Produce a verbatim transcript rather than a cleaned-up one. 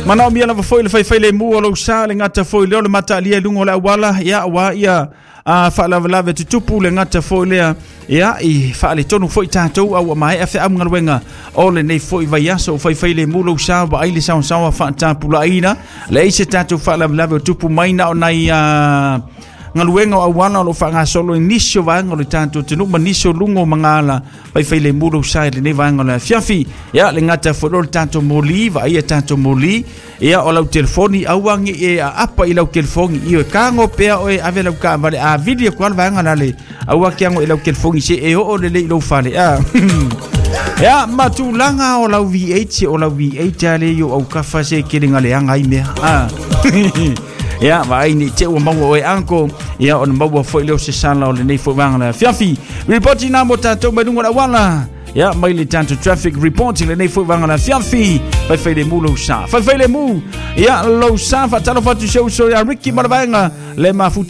Manaomia lava foi le faifailemū o lou sa, le gata foi lea o le mataalia i luga o le auala, ia auā ia a faalavelave tutupu, le gata foi lea ia i faaletonu foi tatou a ua maea feaugaluega o lenei foi vaiaso. O faifailemū lou sa, vaai le saosaoa faatapulaaina, leai se tatou faalavelave o tupu mai, na o nai a galuega o auala o lo o faagasolo i nisi o vaega o le tatou atunuu ma nisi o luga o magala. Faifailemū lou sa i lenei vaega o le afiafi. Ia le gata foi lea o le tatou moli, vaaia tatou moli, ia o lau telefoni, aua ne i e aapa i lau telefoni i e kago pea oe, ave lau taavale a vili atu lava le vaega lale, aua ke ago i lau telefoni se e oo lelei i lou fale a. Ia ma tulaga o lau V eight, o lau V eight a le i o aukafa se tele galeaga ai mea a. Ia vaai nei te ua maua oe anko, ia ona maua foi leo se sala o lenei foi vaega le afiafi. Ripoti na mo tatou mai luga o le auala. Ia mai le tatou traffic report i lenei foi vaega le afiafi. Faifailemū lou sa. Faifailemū. Ia lou sa, faatalofa atu si ou uso ia Ricky ma le vaega le mafuta.